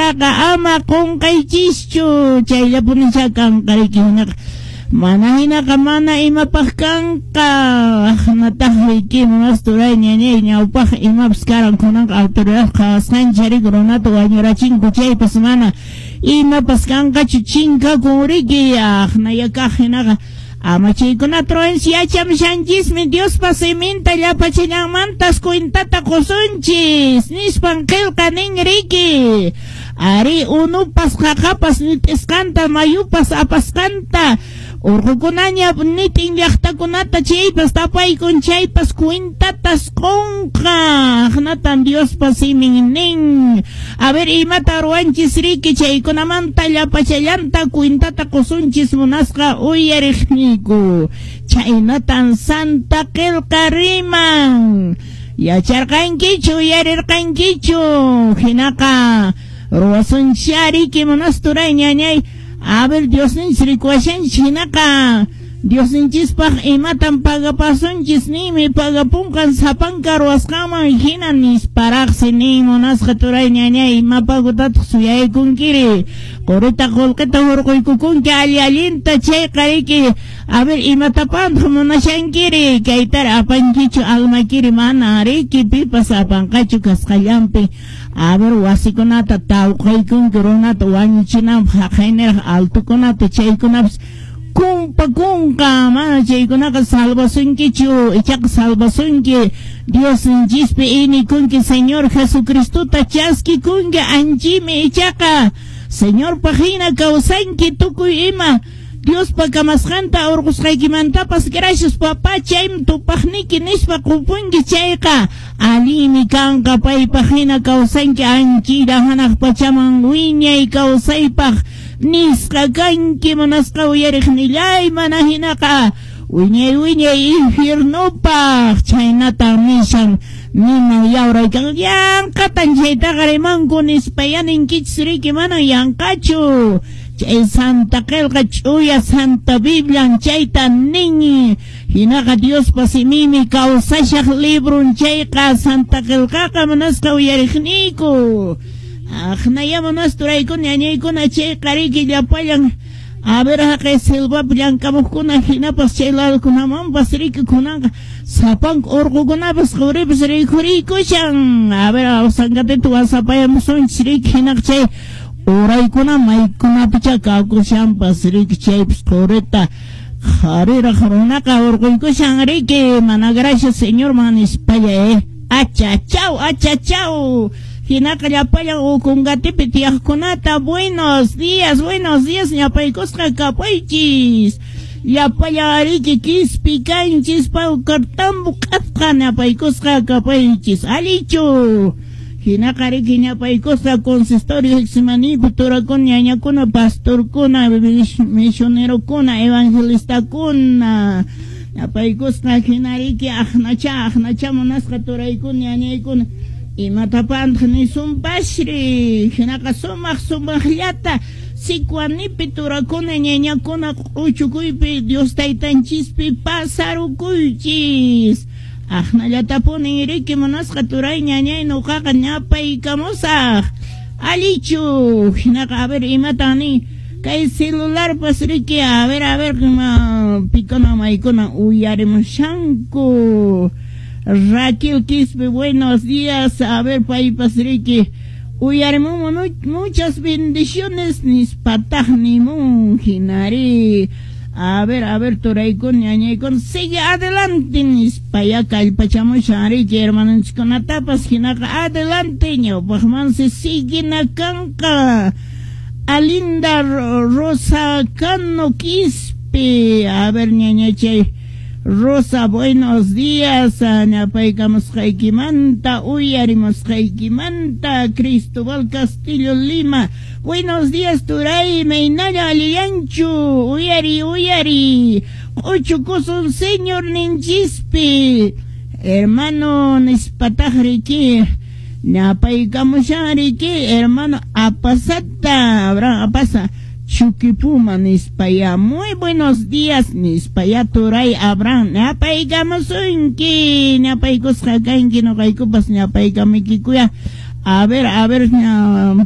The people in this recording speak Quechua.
qelqaqa ama qonqaychischu chayllapunicha kanqa riki hinaqa mana hinaqa mana imapaq kanqa aqnataq riki munasturay ñañay ñawpaq imapas karan kunanqa autoridad qhawasqanchik riki runata wañurachinku chaypas mana imapas kanqachu chinkakun riki aqnaya kaq hinaqa ama chaykunata ruwanchis yachamushanchismi Diospa siminta llapachallanmantas cuentata qusunchis nispan qillqa nin riki ari unupas qaqapas nit'isqanta mayupas apasqanta urqukunaña nitin llaqtakunata chaypas tapaykun chaypas cuentatas qunqa aqnatan Diospa simin nin. A ver imata ruwanchis riki chaykunamanta llapachallanta cuentata qusunchis munasqa uyariqniyku chaynatan Santa Qillqa riman yacharqankichu uyarirqankichu hinaqa ruwasunchis riki munasturay ñañay. A ver Diosninchis rikuwashanchis hinaqa Diosninchispaq imatan pagapasunchis ninmi pagapunqan sapanka ruwasqanman hina nisparaqsi nin munasqa turay ñañay ima pagutataq suyaykunkiri qurita qullqita hurquykukunki alli allinta chayqa riki a ver imatapantaq munashankiri kaytara apankichu almakiri mana riki pipas apanqachu kasqallanpi a ver wasikunata tawqaykunki runata wañuchinanpaq haqayniraq altukunata chaykunapas kumpa kunqa mana chaykunaqa salvasunkichu ichaqa salvasunki Diosninchispi inikunki Señor Jesucristota chaskikunki anchimi ichaqa Señorpaq hina kawsanki tukuy ima Diospa kamasqanta urqusqaykimantapas gracias papá chaymi tupaqniki nispa qupunki chayqa allinmi kanqa paypaq hina kawsanki anchilla hanaq pachaman wiñay kawsaypaq nisqa kanki munasqa uyariqnillay mana hinaqa wiñay wiñay infiernopaq chaynatan nishan ninan yawraykan yanqatan chaytaqa rimanku nispa ya ninkichis riki manan yanqachu chay Santa Qillqa ch'uya Santa Biblian chayta nin hinaqa Diospa simimi kawsashaq librun chayqa Santa Qillqaqa munasqa uyariqniyku aqnaya munasturaykuna ñañaykuna chayqa riki llapallan a ver haqay selvapi llamk'amuqkuna hinapas chay ladokunamanpas riki kunanqa sapanka urqukunapas quripas rikhuriykushan a ver Awsangatita wasapayamusunchis riki hinaqa chay uraykuna maykunapicha kakushanpas riki chaypas qurita qhariraq runaqa urquykushan riki mana gracias Señorman nispalla achachaw achachaw hinaqa llapallan Ocongatipi tiyaqkunata buenos días ñapaykusqa kapuychis llapallan riki Quispi kanchis Paucartambo q'atqa ñapaykusqa kapuychis allichu hinaqa riki ñapaykusqa consistorio Getsemanipi turakuna ñañakuna pastorkuna misionerokuna evangelistakuna ñapaykusqa hina riki aqnacha aqnacha munasqa turaykuna ñañaykuna imatapantaq nisunpasri hinaqa sumaq sumaqllata Sicuanipi turakuna ñañakuna q'uchukuypi Dios taytanchispi pasarukuychis aqnallatapunin riki munasqa turay ñañay nuqaqa ñapaykamusaq allichu hinaqa a ver imatan nin kay celularpas riki a ver pikuna maykuna uyarimushanku Raquel Quispe buenos días a ver paypas riki uyarimun muchas bendiciones nispataq nimun hinari a ver turaykuna ñañaykuna sigue adelante nispaya kallpachamushan riki hermanunchikkunatapas hinaqa adelante ñawpaqmansi siguina kanqa Alinda Rosa Cano Quispe a ver ñañachay Rosa buenos días ñapaykamusqaykimanta uyarimusqaykimanta Cristobal Castillo Lima buenos días turay maynalla allillanchu uyari uyari q'uchukusun Señor ninchispi hermano nispataq riki ñapaykamushan riki hermano apasata Abraham apasa Chuquipuma nispaya muy buenos días nispaya turay Abraham ñapaykamusunki ñapaykusqa kanki nuqaykupas ñapaykamikikuya a ver phaway.